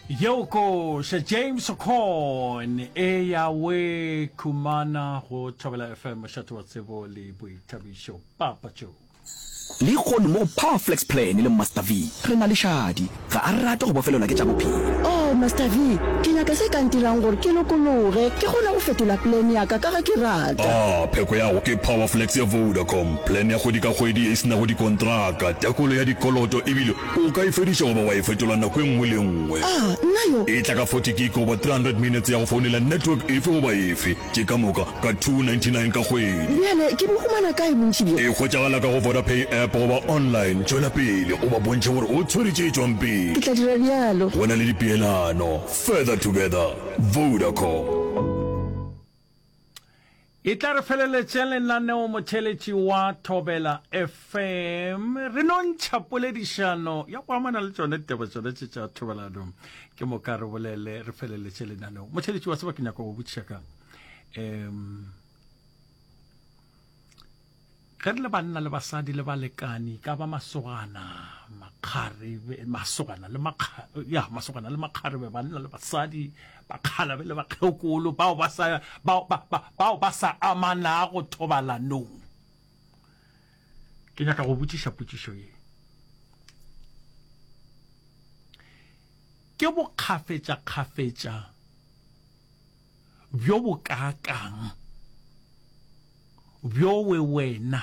Yeo koša James Corn e ya we khumana go Thobela FM mošate wa tsebo le boithabišo Papa Joe. Lehono mo go Power Flex Plan le Master V re na le Shadi. Ga a rate go bofelelwa ke tša bophelo. Oh, Master V, ke nyaka se ka ntirang gore ke lokologe, ke kgone go fetola plan ya ka ka ge ke rata. Ah, pheko ya go ke Power Flex ya Vodacom, plan ya kgwedi ka kgwedi e se nago dikontraka, tekolo ya dikoloto ebile O ka e fediša goba wa e fetola nako e nngwe le e nngwe. A, nna yo. E tla ka 40 gig goba 300 minutes ya go founela network efe goba efe, tše ka moka ka 299 ka kgwedi. Bjale ke bo humana kae bontši bjo? E hwetšagala ka go Vodapay app goba online. Tšwela pele o ba bontšhe gore o tshwere tše tšwang pele. Ke tla dira bjalo. Go na le dipeelano. Further together. Vodacom. E tla re feleletše lenaneo motheeletši wa Thobela FM. Re no ntšha poledišano ya go amana le tšone ditaba tšone tše tša thobalano. Ke moka re bolele re feleletše lenaneo. Motheeletši wa tseba ke nyaka go botšiša ka um Ge re le banna le basadi le balekani, ka ba masogana, makgarebe, masogana le makga, ya, masogana le makgarebe, banna le basadi, bakgalabe le bakgekolo, bao ba sa, bao, ba, ba, bao ba sa amanago thobalanong. Ke nyaka go botšiša potšišo ye. Ke bokgafetšakgafetša bjo bokaakang bjowe wena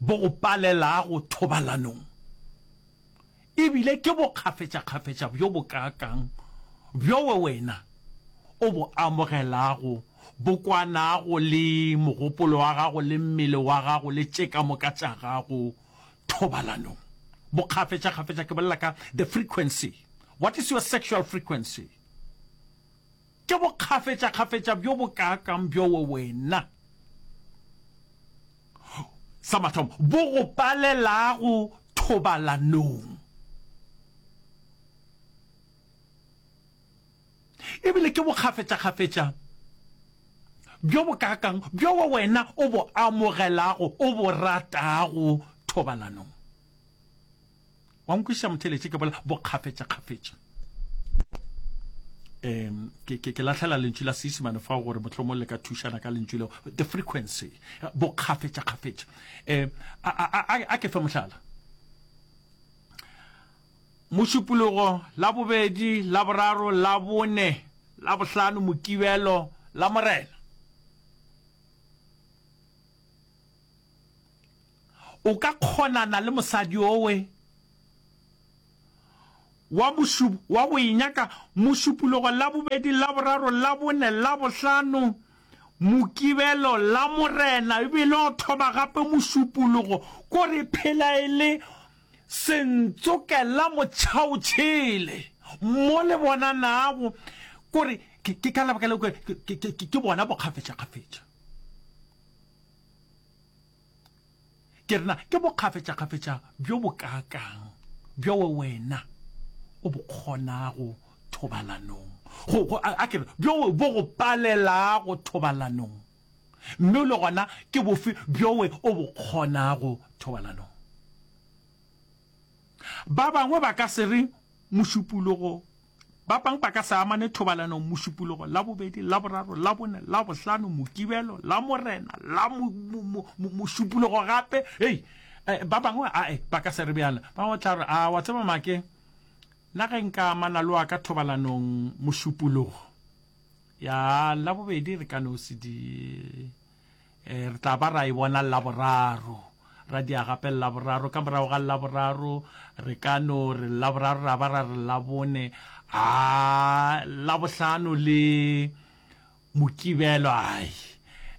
bo go palelago thobalanong, e bile ke bokgafetšakgafetša bjo bokaakang bjowe wena o bo amogelago, bo kwanago le mogopolo wa gago le mmele wa gago le tše ka moka tša gago thobalanong. Bokgafetšakgafetša, ke bolela ka the frequency. What is your sexual frequency? Ke bokgafetšakgafetša bjo bokaakang bjowe wena, sa mathomo, bo go palelago thobalanong? E bile ke bokgafetšakgafetša bjo bokaakang bjowe wena o bo amogelago, o bo ratago thobalanong? Wa nkwešiša motheeletši ke bolela bokgafetšakgafetša. Um ke, ke, ke lahlela lentšu la Seisemane fao gore mohlomong le ka thušana ka lentšu leo, the frequency, bokgafetšakgafetša. Um a, a, a, a ke fe mohlala. Mošupologo, Labobedi, Laboraro, Labone, Labohlano, Mokibelo, Lamorena. O ka kgonana le mosadi owe wa mošup, wa go e nyaka Mošupologo, Labobedi, Laboraro, Labone, Labohlano, Mokibelo, Lamorena, ebile o thoma gape Mošupologo, ko re phela e le Sentsokela motšhaotšhele mo le bonanago, ko re ke, ke ka lebaka leo ke, ke, ke, ke bona bokgafetšakgafetša. Ke re na ke bokgafetšakgafetša bjo bokaakang bjo wena o bo kgonago thobalanong, go, go, a, a ke re, bjo bo go palelago thobalanong, mme le gona ke bofe bjo o bo kgonago thobalanong? Ba bangwe ba ka se re Mošupologo Ba bangwe ba ka se amane thobalanong Mošupologo, Labobedi, Laboraro, Labone, Labohlano, Mokibelo, Lamorena, la mo, mo, mo, mo, Mošupologo gape. Hei, eh, ba bangwe ae ba ka se re bjalo. Ba bangwe tla re, a wa tseba make, nna ge nka amana le wa ka thobalanong Mošupologo, ya Labobedi re ka no se di Eh, re tla ba ra e bona Laboraro, ra dia gape Laboraro, ka morago ga Laboraro re ka no re Laboraro ra ba ra re Labone, a Labohlano le Mokibelo, ai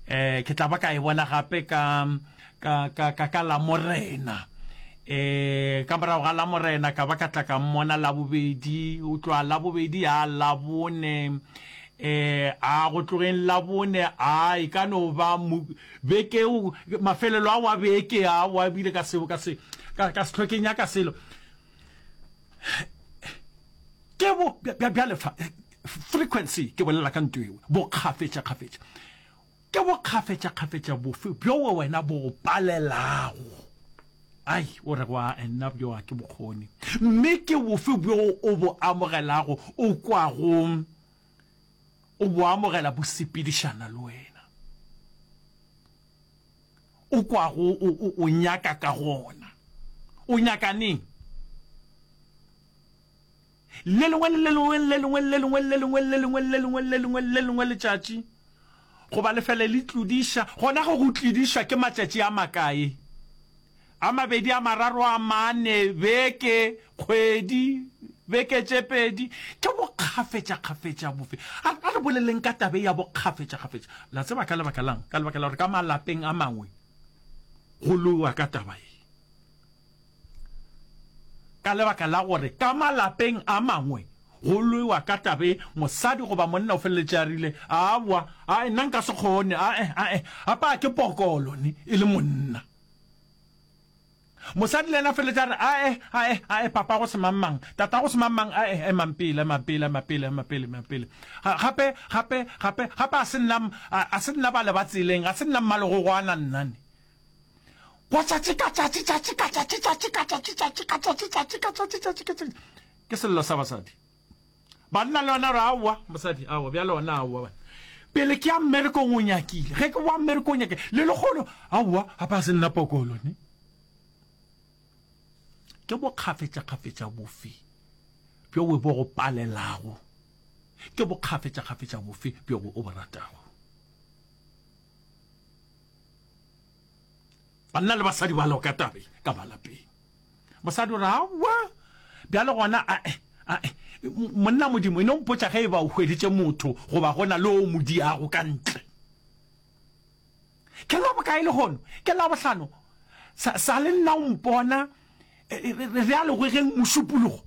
eh ke tla ba ka e bona gape ka ka ka ka, ka Lamorena. Eh ka morago ga Lamorena ka ba ka tla ka mmona Labobedi, o tloga Labobedi ya Labone Eh, a go tlogeng Labone, a e ka no ba mo, beke o, mafelelo a wa beke a wa bile ka se, ka se, ka, ka se hlwe ke nyaka selo. Ke bo, bja, bjale fa, frequency, ke bolela ka nto ewe, bokgafetšakgafetša. Ke bokgafetšakgafetša bofe bjowe wena bo go palelago? Ai, o re go a nna bjo a ke bokgoni. Mme ke bofe bjo o bo amogelago, o kwago o bo amogela bo sepedišana le wena, o kwago o, o, o nyaka ka gona? O nyaka neng? Le lengwe le le lengwe, le lengwe le lengwe, le lengwe le lengwe, le lengwe le lengwe, le lengwe letšatši, goba le fele le tlodiša, gona ge go tlodišwa ke matšatši a makae? A mabedi, a mararo, a mane, beke, kgwedi, beke tše pedi. Ke bokgafetšakgafetša bofe? A, a re boleleng ka tabe ya bokgafetšakgafetša. La tseba ka lebaka lang? Ka lebaka la gore ka malapeng a mangwe go lowa ka taba ye. Ka lebaka la gore ka malapeng a mangwe go lwewa ka tabe, mosadi goba monna o feleletše a rile, Aowa, ae, nna nka se kgone, ae, ae, apa ke pokolo ne e le monna. Mosadi le yena a feleletše a re, Ae, ae, ae, papago semangmang, tatago semangmang, ae, emang pele, emang pele, ema pele, ema pele, ema pele. Gape, gape, gape, gape a se nna, a se nna bale ba tseleng, ga se nna mmalegogwana nna ne. Wa tšatši ka tšatši, tšatši ka tšatši, tšatši ka tšatši, tšatši ka tšatši, tšatši ka tšatši, tšatši ka tšatši. Ke sello sa basadi. Banna le yona re aowa, mosadi aowa, bjale ona aowa bana. Pele ke ya mmerekong o nyakile, ge ke boa mmerekong o nyakile, le lekgono aowa, gape a se nna pokolo ne. Ke bokgafetšakgafetša bofe bjo bo go palelago? Ke bokgafetšakgafetša bofe bjo o bo ratago? Banna le basadi ba loka tabe ka malapeng. Mosadi o re, Aowa, bjale gona ae, ae, monna Modimo, e no mpotša ge e ba o hweditše motho goba go na le o mo diago ka ntle. Ke la bokae lehono? Ke Labohlano. Sa, sa le nna o mpona re ya legwegeng Mošupologo?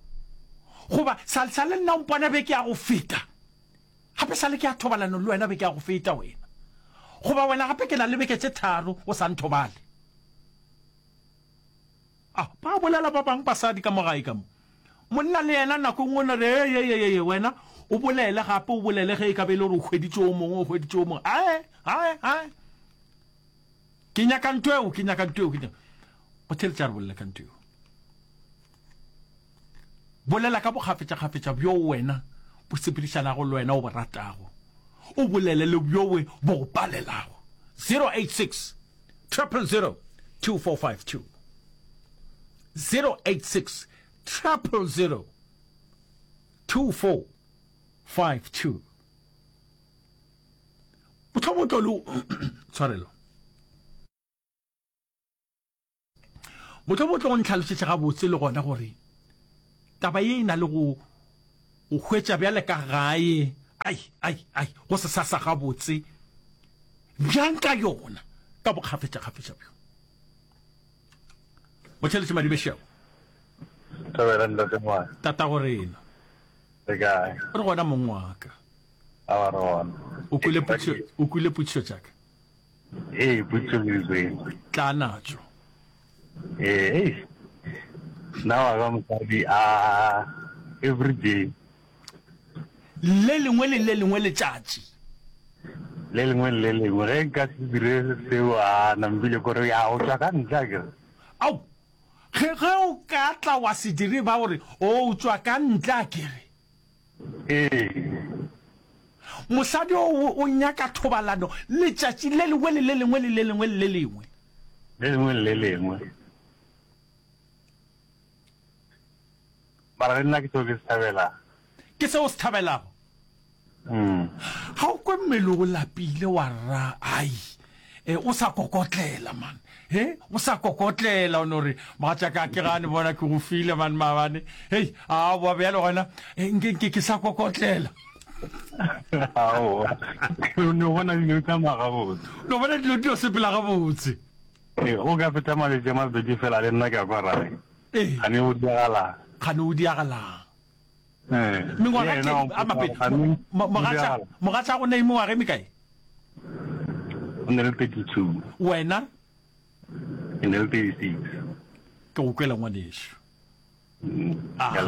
Goba sa, sa le nna o mpona beke ya go feta? Gape sa le ke ya thobalano le wena beke ya go feta wena. Goba wena gape ke na le beke tše tharo o sa nthobale. A ba bolela ba bang basadi ka mo gae ka mo. Monna le yena nako e nngwe o no re, Ee, ee, ee, wena o bolele gape o bolele ge e ka be e le gore o hweditše o mongwe, o hweditše o mongwe. Ae, ae, ae. Ke nyaka ntho eo, ke nyaka ntho eo, ke nyaka. Go theletša re bolele ka ntho eo. Bolela ka bokgafetšakgafetša bjoo wena bo sepedišanago le wena o bo ratago, o bolele le bjowe bo go palelago. 086 000 2452 086 000 2452 Mohlomongwe tlo le tshwarelo. Mohlomongwe o tlo go ntlhalošetša gabotse le gona gore taba ye e na le go go hwetša bjale ka gae, ai, ai, ai, go se sa sa gabotse bjang ka yona, ka bokgafetšakgafetša bjo. Motheletši Madibešego. Thobela ntate ngwana. Tatago rena. Re kae? Re gona mong wa ka. Awa re gona. O kwele potšišo, o kwele potšišo tša ka? Ee, potšišo ke di kwele. Tla natšo. Ee, ei. Nna wa ka mosadi a every day. Le lengwe le le lengwe letšatši. Le lengwe le le lengwe. Ge nka se dire seo a nampile kore ya o tšwa ka ntle akere. Ao, ge ge o ka tla wa se dire ba gore o tšwa ka ntle akere. Ee. Mosadi o o nyaka thobalano letšatši le lengwe le le lengwe le le lengwe le le lengwe. Le lengwe le le lengwe. Mara le nna ke seo ke se thabelago. Ke seo o se thabelago? Ga o kwe mmele o lapile wa ra ai e o sa kokotlela man he o sa kokotlela o no re mogatšaka ke gane bona ke go file man maabane hei a boa bjale gona eh, nke nke ke sa kokotlela Aowa. No bona dilo di tsamaya gabotse. No bona dilo di sepela gabotse. Ee, o ka feta maletši a mabedi fela le nna ke a kwa rae. Ee. Gane o diagalang. Gane o diagalang. Ee. Mengwaga ke a mabedi. Mogatša mogatša go ne mengwaga e mekae? O ne le 32. Wena? Ke ne le 36. Ke go kwela ngwanešu. Aga,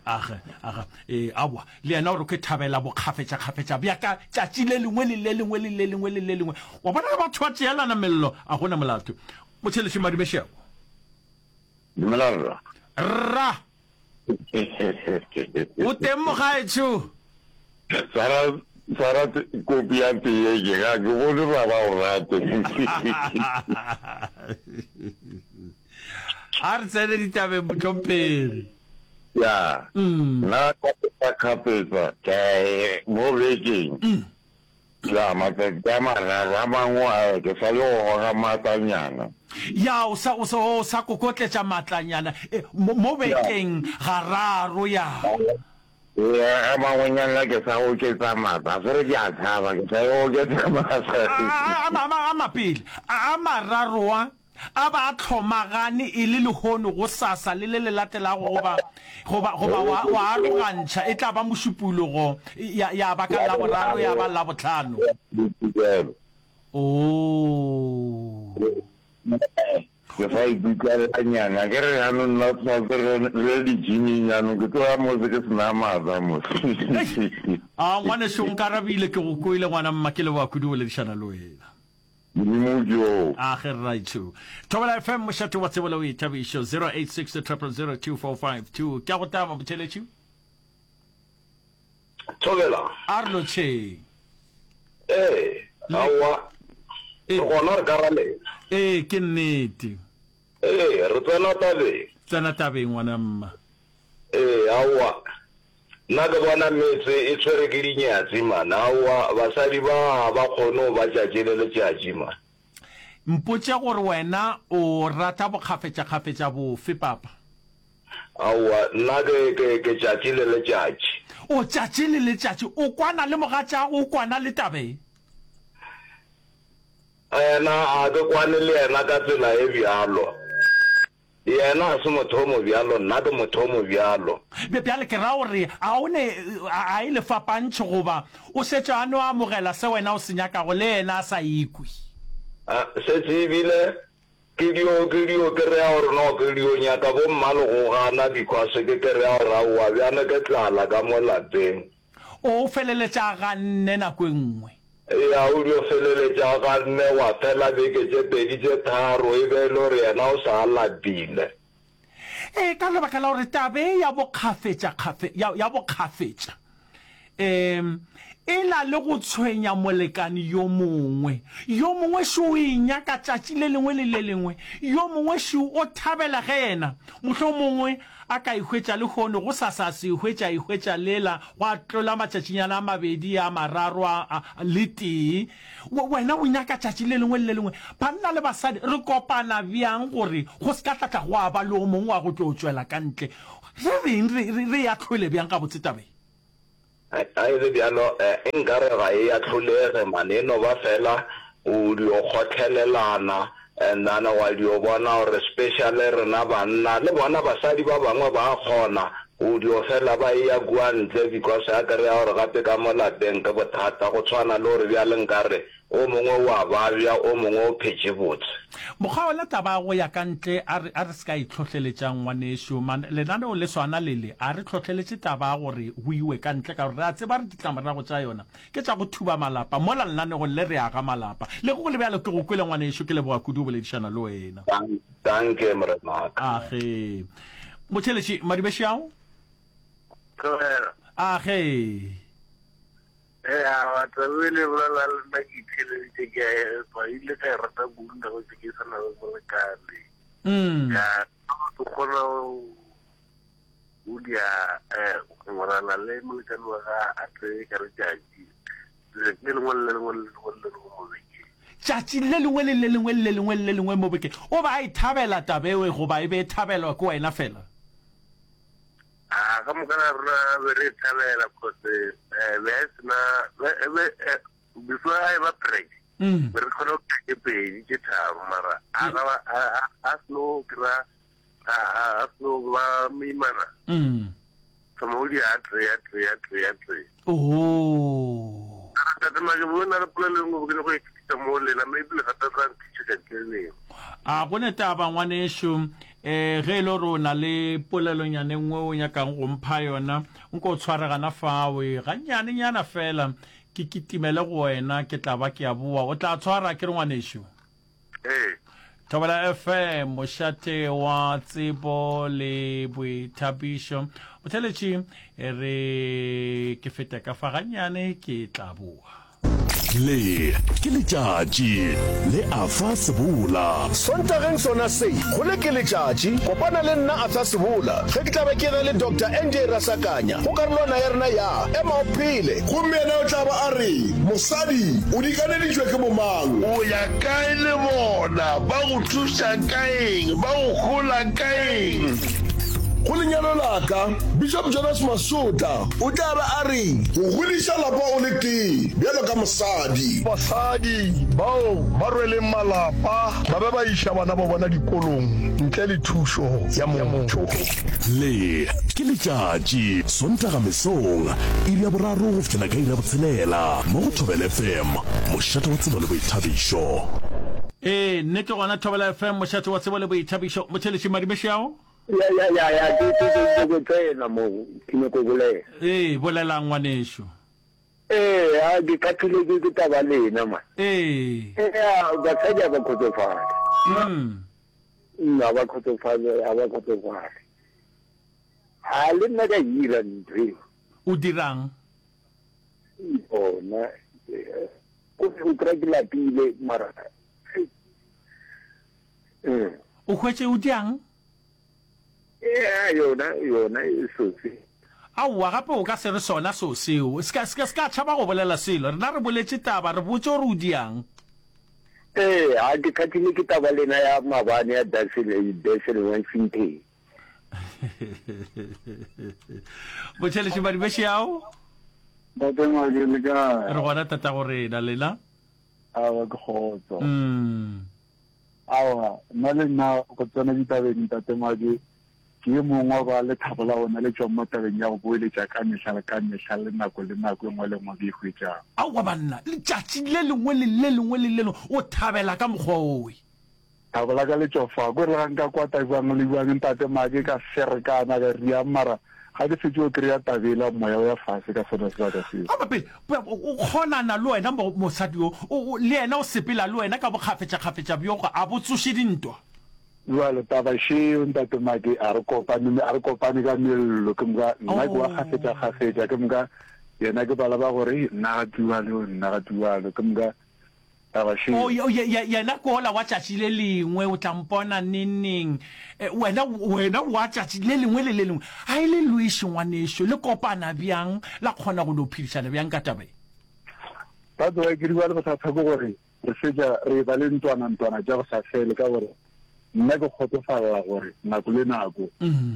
aga, aga. Ee, aowa. Le yena o re ke thabela bokgafetšakgafetša bja ka tšatši le lengwe le le lengwe le le lengwe le le lengwe. Wa bona ge batho ba tšeelana mello, a go na molato. Motšheletši Madumešego. Dumela rra. Rra. O teng mogaetsho? Tshwara tshwara kopi ya teye ke ga ke bone ba ba o rate. A re tsene ditabeng mohlomphegi. Ya. Nna kgapetsa kgapetsa ke mo bekeng. Ya, matsatsi a mararo, a mangwe a ke sa le go goga maatlanyana. Ya, o sa, o sa, o sa kokotletša maatlanyana, e, mo, mo bekeng gararo, ya. Ya, a mangwenyana ke sa oketsa maatla, a se re ke a tshaba, ke sa yo oketsa maatla. A, a, a, a, a mapele, a, a mararo a. A ba a hlomagane e le lehono, gosasa, le le le latelago, goba, goba, goba wa, wa arogantšha, e tla ba Mošupologo, ya, ya ba ka Laboraro, ya ba Labohlano. Oo. Ke sa ikutlwelanyana, ke re jaanong nna tshwanetse re re ye di-gym-ing jaanong, ke tlo ya mose ke se na maatla mose. A, ngwaneso, o nkarabile, ke go kwele, ngwana mma, ke leboga kudu go boledišana le wena. Modimo ke yo. A ge rraetsho. Thobela FM mošate wa tsebo le boithabišo 086 000 2452. Ke a go taba motheletši. Thobela. A re lotšheng. Ee, aowa. Re gona re ka ra lena. Ee, ke nnete. Ee, re tsena tabeng. Tsena tabeng ngwana mma. Ee, aowa. Nna ke bona metse e tshwere ke dinyatsi man. Aowa, basadi ba ga ba kgone go ba tšatši le letšatši man. Mpotše gore wena o rata bokgafetšakgafetša bofe, papa? Aowa, nna ke, ke, ke tšatši le letšatši. O tšatši le letšatši. O kwana le mogatšago, o kwana le taba e? Yena, a ke kwane le yena ka tsela e bjalo. Yena ga se motho o mobjalo, nna ke motho o mobjalo. Bjale ke ra gore a o ne, a e le fapantšho goba o šetše a no amogela se wena o se nyakago le yena a sa ikwe? A, šetše e bile ke dio, ke dio kereya gore no ke dio nyaka bo mma le go gana because ke kereya gore aowa bjane ke tlala ka mo lapeng. O feleletša a ganne nako e nngwe. Eya, o dio feleletša a ganne gwa fela beke tše pedi tše tharo e be e le gore yena o sa lapile. Ee, ka lebaka la gore taba e ya bokgafetša, kgafe, ya, ya bokgafetša, um e na le go tshwenya molekane yo mongwe. Yo mongwe šo o e nyaka tšatši le lengwe le le lengwe, yo mongwe šo o thabela ge yena, mohlomongwe, A ka e hwetša lehono, gosasa a se e hwetše, a e hwetša lela, gwa tlola matšatšinyana a mabedi, a mararo, a, a, le tee. We, wena o nyaka tšatši le lengwe le le lengwe. Banna le basadi, re kopana bjang gore go se ka tla tla gwa ba le o mongwe wa go tlo tšwela ka ntle? Re reng? Re, re, re e ahlole bjang gabotse taba ye? Ga e le bjalo, nkare ga e ahlolege man, e no ba fela o dio kgotlhelelana and then wa dio bona gore specially rena banna le bona basadi ba bangwe ba kgona go dio fela ba eya kua ntle because a kry-a gore gape ka mo lapeng ke bothata go tshwana le gore bjale nkare O mongwe o a babja, o mongwe o phetše botse. Mokgwa wona taba ya go ya ka ntle, a re, a re se ka e hlohleletšang, ngwanešu. Man, lenaneo le swana le le, a re hlohleletše taba ya gore go iwe ka ntle, ka gore re a tseba re ditlamorago tša yona ke tša go thuba malapa. Mola lenanegong le re aga malapa. Le ge go le bjalo, ke go kwele, ngwanešu, ke leboga kudu go boledišana le wena. Danke, morenaka. Age. Motheeletši, Madibešiao? Tlogela. Age. Ea, taba e le bolela le nna ke itheeleditše ke a epa, ile ka e rata kudu nako tse ke sa na le molekane. Mm. Ya, ke kgona go dia eh, go ngwalana le molekane wa ga a tseye ka letšatši le lengwe le le lengwe le lengwe le lengwe mo bekeng. Tšatši le lengwe le le lengwe le lengwe le lengwe mo bekeng. O ba a e thabela taba eo goba e be e thabelwa ke wena fela? A ka moka ga rena be re e thabela cause eh, be a sena be eh, before a e ba preg mm. be re kgona go ke pedi tše tharo mara a ga a seno kry a seno ba moimana mm. thoma o di a tee a tee a tee a tee oh. tate make bo na le polelo e nngwe ke nyako e fetisa mo lena maybe le gape tla nthuša tšatši le lengwe a go ne taba ngwanešu um ge e le gore o na le polelonyana e nngwe o nyakang go mpha yona nko o tshware gana fawe gannyanenyana fela ke kitimele go wena ke tla ba ke a boa o tla tshwara ke re ngwanešu ee. Thobela FM, mošate wa tsebo le boithabišo. Motheletši, e re ke fete ka fa gannyane ke tla boa. Le ke letšatši le Arthur Sebola. Sontageng sona se, go le ke letšatši, kopana le nna Arthur Sebola ge ke tla be ke ena le Doctor NJ Rasakanya go karolwana ya rena ya Ema o Phele. Gomme yena o tla ba a re, Mosadi, o dikaneditšwe ke bomang? O ya kae le bona? Ba go thuša ka eng? Ba go hola ka eng? Go lenyalo la ka, Bishop Jonas Masotla o tla ba a re. Go godiša lapa o le tee bjalo ka mosadi. Basadi bao ba rweleng malapa ba be ba iša bana ba bona dikolong ntle le thušo ya motho. Le ke letšatši, Sontaga mesong, iri ya boraro go fihlela ka iri ya botshelela, mo go Thobela FM, mošate wa tsebo le boithabišo. Ee, nnete gona Thobela FM, mošate wa tsebo le boithabišo. Motheeletši Madimešiao. Ya, ya, ya, ya, ke, ke, ke, ke, ke tsena mo, ke nyako bolela. Ee, bolelang ngwanešu. Ee, a ke kgathile ke, ke taba lena, man. Ee. Ee, a, basadi a ba kgotsofale. Mm. Mm, a ba kgotsofale, a ba kgotsofale. A le nna ka ira ntho e. O dirang? Bona, eh, o kry-a ke lapile, mara, eh. O hwetše o diang? Ea, yona, yona e sose. Aowa, gape o ka se re sona seo seo. Se ka, se ka, se ka tšhaba go bolela selo. Rena re boletše taba, re botše gore o diang. Ee, a ke kgathile ke taba lena ya maabane ya Durban, Durban Washington. Botšheletše Madibešiao. Ntate Ngwake, le kae? Re gona tatago rena, lena? Aowa, ke kgotso. Mm. Aowa, nna le nna go tsena ditabeng, Ntate Madi, ke yo mongwe wa ba lethabo la bona le tšwang mo tabeng ya go boeletša ka mehla le ka mehla le nako le nako e nngwe le nngwe ke e hwetšago. Aowa banna, letšatši le lengwe le le lengwe le le lengwe o thabela ka mokgwa owe. Thabo la ka le tšwa fa. Ko re ga nka kwata bjang le bjang, Ntate Madi, ka ferekana, ka riang, mara Ga ke fetše go kry-a tabela, moya o ya fase ka sona sebaka seo. Goba pele, o kgonana le wena mosadi yo, le yena o sepela le wena ka bokgafetšakgafetša bjo, a bo tsoše dintwa. Bjale taba šeo, Ntate Maki, a re kopane, a re kopane ka mello, ke moka nna ke wa kgafetšakgafetša, ke moka yena ke bala ba gore, nna ga tualo, nna ga tualo, ke moka Taba še. O, ye, ye, yena ke wola wa tšatši le lengwe, o tla mpona nengneng. E, wena, wena wa tšatši le lengwe le le lengwe. A e le lweše, ngwanešu, le kopana bjang, la kgona go no phedišana bjang ka taba ye? That's why ke re bjale bothata ke gore re fetša re eba le ntwana-ntwana tša go sa fele ka gore nna ke kgotsofalela gore nako le nako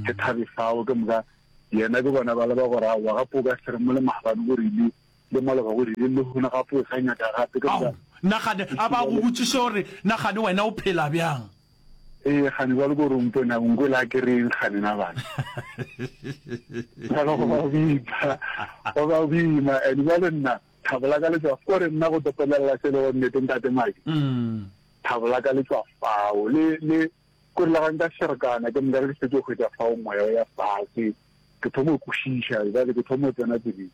ke thabe fao ke moka yena ke bona ba le ba gore aowa gape o ka se re mo le maabane o rile Le maloba o rile, Lehono gape o sa nyaka gape. Ke Ao, nagane, a ba go botšiše gore, Nagane, wena o phela bjang? Ee, kgane bjalo ke gore o mpone, o nkwele a ke reng kgane na bana? Bjalo go ba boima, go ba boima. And bjale nna, thabo la ka le tšwa, kore nna go topolelela se e lego nnete, Ntate Maki, thabo la ka le tšwa fao. Le, le, kore le ga nka ferekana, ke nka re ke šetše go hwetša fao moya o ya fase, ke thoma go kwešiša, bjale ke thoma go tsena tseleng.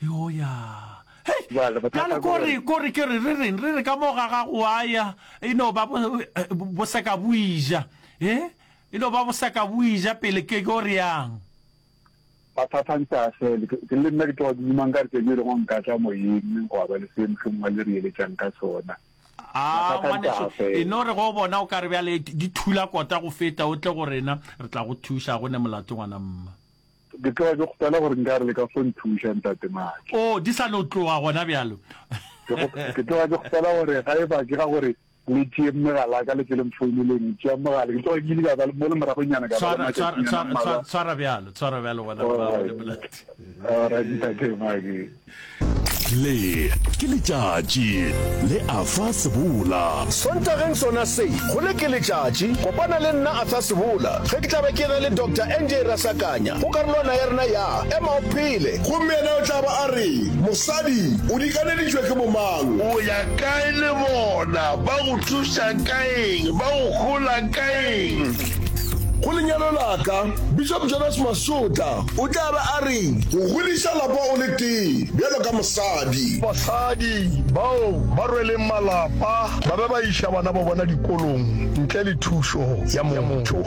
Yo ya. Hei, bjale kore kore ke re re reng re re ka mo ga gago wa ya e no ba bo seka bo ija eh e no ba bo seka bo ija pele ke go re yang mathata ntse a fele ke le nna ke tloga ke duma nka re tšatši le lengwe nka tla moyeng gwa ba le se mohlomongwe le re eletšang ka sona A ngwaneso e no re go bona o ka re bjale di thula kota go feta o tle go rena re tla go thuša go ne molato ngwana mma Ke tloga ke kgopela gore nkare le ka fo nthuša, Ntate Maki. Oh, di sa no tloga gona bjalo. Ke tloga ke kgopela gore ga e ba ke ga gore le tšee megala ya ka le tle le mfouneleng, tšeang mogala. Ke tloga ke ile ka ba mo le moragonyana ka ba le matšatšinyana a mmalwa. Tshwara bjalo, tshwara bjalo gona mma le molato. Alright, Ntate Maki. Le ke letšatši le Arthur Sebola. Sontageng sona se, go le ke letšatši, kopana le nna Arthur Sebola ge ke tla be ke ena le Doctor NJ Rasakanya go karolwana ya rena ya Ema o Phele. Gomme yena o tla ba a re, Mosadi, o dikaneditšwe ke bomang? O ya kae le bona? Ba go thuša ka eng? Ba go hola ka eng? Go lenyalo la ka, Bishop Jonas Masotla o tla be a re go godiša lapa o le tee bjalo ka mosadi. Basadi bao ba rweleng malapa ba be ba iša bana ba bona dikolong ntle le thušo ya motho.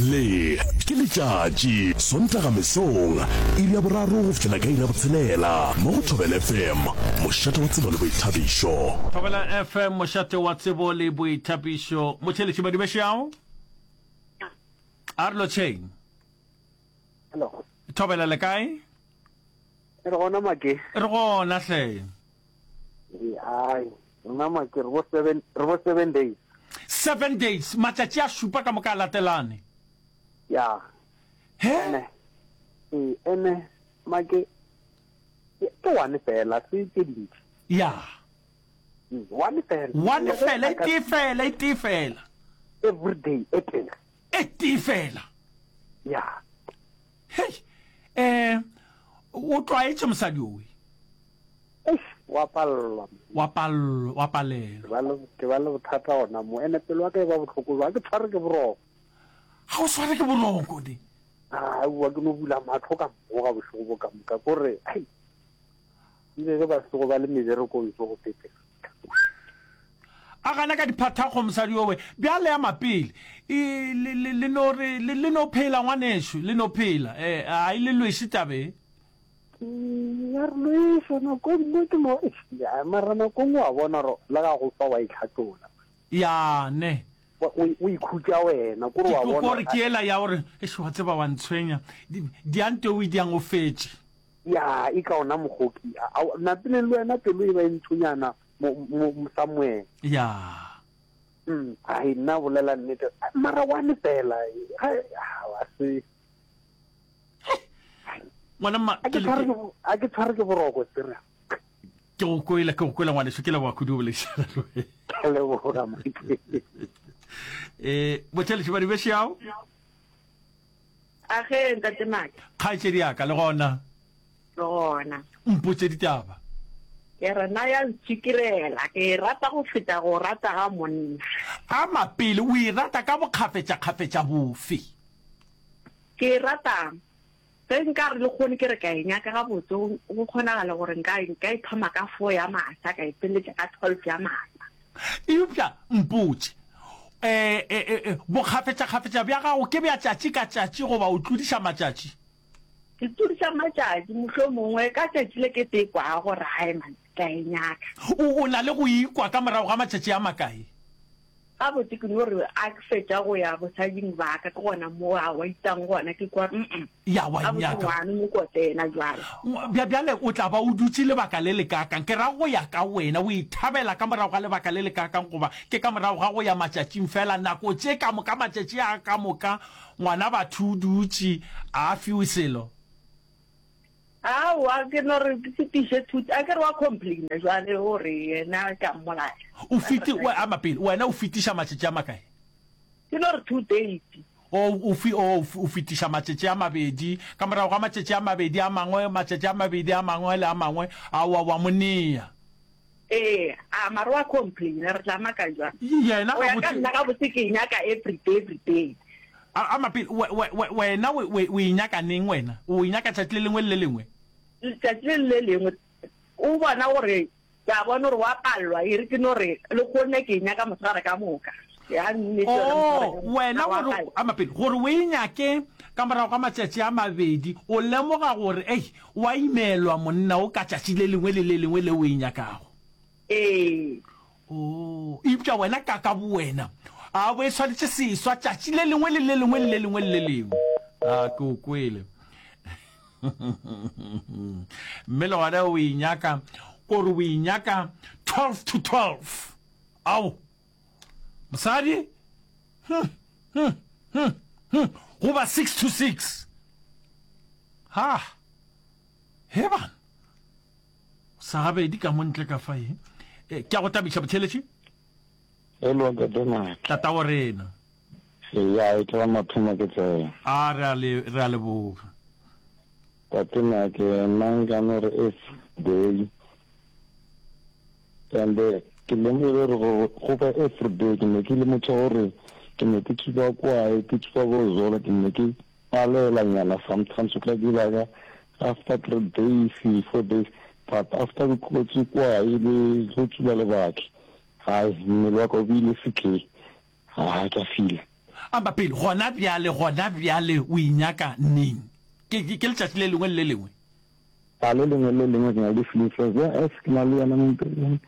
Le ke letšatši, Sontaga mesong, iri ya boraro go fihlela ka iri ya botshelela, mo go Thobela FM, mošate wa tsebo le boithabišo. Thobela FM, mošate wa tsebo le boithabišo. Motheeletši Madibešeao, a re lotšheng. Hello. Thobela le kae? Re gona Make. Re gona hle. Ee, ai, rena Make re bo seven, re bo seven days. Seven days, matšatši a šupa ka moka a latelane. Ya. He? Ene, ee, ene Make ke one fela, se tše dintši. Ya. Mm, one fela. One fela, e tee fela, e tee fela. Every day, e tee. E tee fela. Ya. Hei, eh, o tlwaetše mosadi owe. Eish, wa palelwa. Wa palelwa, wa palelwa. Ke ba le, ke ba le bothata gona mo. Ene pelo ya ka e ba bohloko ba ke tshware ke boroko. Ga o tshware ke boroko ne. Aowa, ke no bula mahlo ka mmoga bošego bo ka moka. Ko re, ai, Ebile ge ba sego ba le meberekong tso go pepela. A gana ka diphathakgo mosadi owe. Bjale ya mapele. E, le, le, le no re, le, le no phela ngwanešu, le no phela. E, a e le lweše tabe. Ya re lweša nako e nngwe ke no, eish, ya, mara nako e nngwe wa bona gore le ga go fa wa itlhatlola. Ya, ne. O, o, o ikhutša wena, kore wa bona. Kore ke yela ya gore, eish, wa tseba wa ntshwenya. Di, diante o e diang o fetše. Ya, e ka ona mogoki. A, a, napile le wena pelo e ba e ntshonyana mo, mo, mo somewhere. Ya. Mm, ai, nna bolela nnete. Mara one fela, ga, a se. Ngwana mma, A ke tshware ke, a ke tshware ke boroko, serious. Ke go kwele, ke go kwele ngwaneso, ke leboga kudu o boledišana le wena. Ke leboga, Mike. Eh, botheletši ba dibešeao. A ge, Ntate Maka. Kgaetšedi ya ka, le gona? Le gona. Mpotše ditaba. Ke re na ya ntšikirela, ke e rata go feta go rata ga monna. Ama pele, o e rata ka bokgafetšakgafetša bofe? Ke e rata ge nka re lekgono ke re ka e nyaka gabotse, go kgonagala gore nka, nka e thoma ka four ya masa ka e feletša ka twelve ya masa. Eupša mpotše, e, e, e, e, bokgafetšakgafetša bja gago ke bja tšatši ka tšatši goba o tlodiša matšatši? Ke tlodiša matšatši, mohlomongwe ka tšatši le ke te kwago gore hai man, ke a e nyaka. O, o na le go ikwa ka morago ga matšatši a makae? Gabotse ke no re a ke fetša go ya bosading ba ka, ke gona mo a wa itang gona, ke kwa mm Ya wa gabotse nyaka. ngwana mokote yena bjale. Bja, bjale o tla ba o dutše lebaka le lekaakang? Ke ra go ya ka wena, o ithabela ka morago ga lebaka le lekaakang goba ke ka morago ga go ya matšatšing feela? Nako tše ka moka, matšatši a ka moka, ngwana batho o dutše, a a fiwe selo. Aowa, ke no re ke fetiše thuto. A ke re wa complaina jwale gore yena ke a mmolaya. O feti, we, ama pele, wena o fetiša matšatši a makae? Ke no re two days. O, o fi, o, o fetiša matšatši a mabedi. Ka morago ga matšatši a mabedi a mangwe, matšatši a mabedi a mangwe le a mangwe, aowa, wa mo nea. Ee, a mara wa complaina, re tla maka jwang? Yena Go ya ka nna gabotse ke e nyaka every day, every day. A, ama pele, we, we, we, wena o, o, o e nyaka neng wena? O e nyaka tšatši le lengwe le le lengwe? Letšatši le le lengwe. O bona gore, ke a bona gore wa palelwa, e re ke no re, lehono ke e nyaka mosegare ka moka. Ya nnete yona mosegare Oh, ka moka. wena Wa gore, palelwa. ama pele, gore o e nyake ka morago ga matšatši a mabedi, o lemoga gore, ei, Wa imelwa monna o ka tšatši le lengwe le le lengwe le o e nyakago. Ee. Oo, eupša wena ka ka bowena, a bo e swanetše seswa tšatši le lengwe le le lengwe le le lengwe le le lengwe. A ke o kwele. Mme le gona o e nyaka, kore o e nyaka 12 to 12. Ao, mosadi, hm, hm, hm, hm, goba 6 to 6. Ha! He bana! Sa gabedi ka mo ntle ka fa e. Eh, ke a go tabiša botheletši. Hello, Ntate Mike. Tata wa rena. Ya, e tla mathomo ke tsena. A re a le re a leboga. Tate Mike, nna nka no re every day. And eh, ke lemogile gore go ba every day ke ne ke le motho gore. Ke ne ke tsuba kwae, ke tsuba bo zola, ke ne ke palela nyana sometimes o kry-a ke baka after 3 days, 4 days, but after ke tlogetse kwae le go tsuba lebake, hai mmele wa ka o bile setleng, ha ke a feela. Amba pele, gona bjale, gona bjale o e nyaka neng? Ke, ke, ke letšatši le lengwe le le lengwe? A le lengwe le lengwe ke na le di-feelings tsa ja as ke na le yena mo mpeng,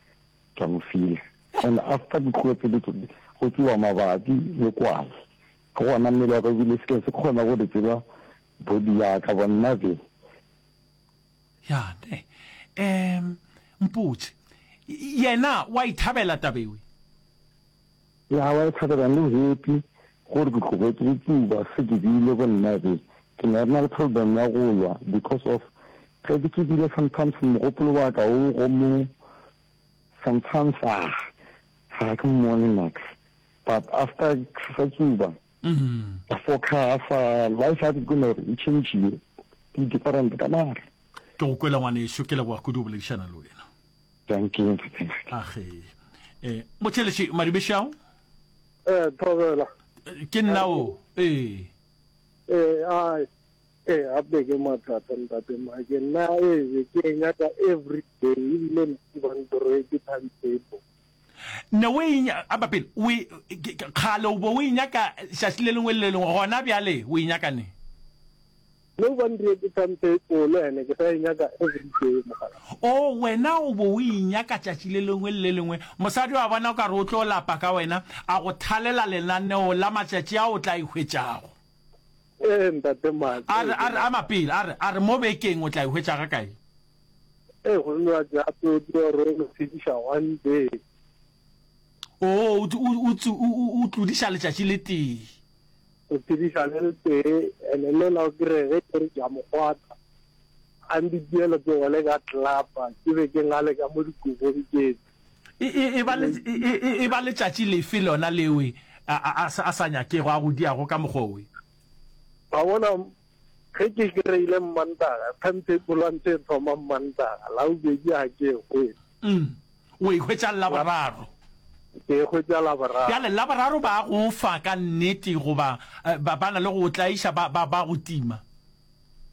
ke a mo feela. And after ke tlogetse go tsuba mabapi le kwae, ke gona mmele wa ka o bile se ke se kgona go di tseba body ya ka bonna be. Ya ne. Um, mpotše, yena wa ithabela taba ewe? Ya wa ithabela le happy gore ke tlogetse go tsuba se ke bile go nna be ke ne re na le problem ya go lwa because of ge ke tsubile sometimes mogopolo wa ka o go mo sometimes ah ga ke mmone max but after ke sa tsuba ka focusa life ya ke gore e changile ke different ka mara Ke go kwele ngwaneso, ke leboga kudu go boledišana le wena. Thank you ntate. Age. Eh, motheletši Madibešao? Eh, thobela. Ke nna o. Eh. Eh, ai. Eh, gape ke mathata ntate Mike. Nna eh ke e nyaka every day ebile nna ke ba ntroetse timetable. Ne o e aba pele o e kgale o bo o e nyaka šatši le lengwe le le lengwe gona bjale o e nyaka ne? No ba ndiretse timetable ene ke sa e nyaka every day mogala. O wena o bo o e nyaka tšatši le lengwe le le lengwe. Mosadi wa bona o ka re o tlo lapa ka wena, a go thalela lenaneo la matšatši a o tla e hwetšago. Ee ntate Maki. A re, a re, a mapele, a re, a re mo bekeng o tla e hwetša ga kae? Ee, go nwa gape o tlo re o no phediša one day. O, o, o, o, o tlodiša letšatši le tee. O phediša le le tee, ene lela o kry ge ke re ke a mo kgwatha, a ntitiele letsogo le ka tlelapa, ke be ke ngale ka mo dikobong ke E, e, e ba le, e, e, e ba letšatši lefe lona lewe a, a, a, a sa nyakego, a go diago ka mokgwa owe? Wa bona, ge ke kry-ile Mmantaga, timetable wa ntse e thoma Mmantaga, Labobedi ga ke e hwetše. Mm. O e hwetša Laboraro. Ke e hwetša Laboraro. Bjale, Laboraro ba go fa ka nnete goba ba, ba na le go o tlaiša, ba, ba, ba go tima?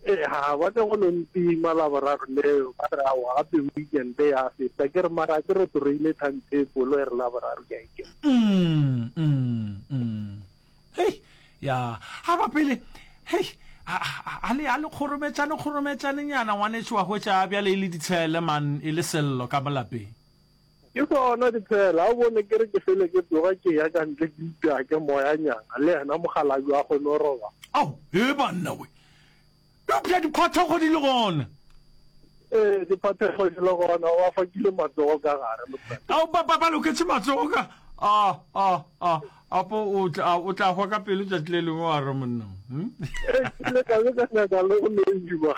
Ee, ga ba tle go no ntima Laboraro leo, ba re aowa gape weekend ya feta. Ke re mara ke re toroile timetable e re Laboraro ke a e kena. Mm, mm, mm. Hei, ya, a ba pele, hei, a, a, a le, a le kgorometšane, kgorometšane nyana, ngwanešu wa hwetša bjale e le ditshele, man, e le sello ka mo lapeng. Ke sona ditshele, a o bone ke re ke fele ke tsoga ke ya ka ntle ke ipea ke moya nyana, le yena mokgalabje wa kgone go robala. Ao, he banna we, Eupša diphathego di le gona. Ee, diphathego di le gona, ba fakile matsogo ka gare. Ao, ba, ba, ba loketše matsogo ka. A, a, a, apo o tla, o tla hwa ka pelo tšatši le lengwe wa re monna. Hmm? Ee, ke ile ka be ka nyaka le go no iba.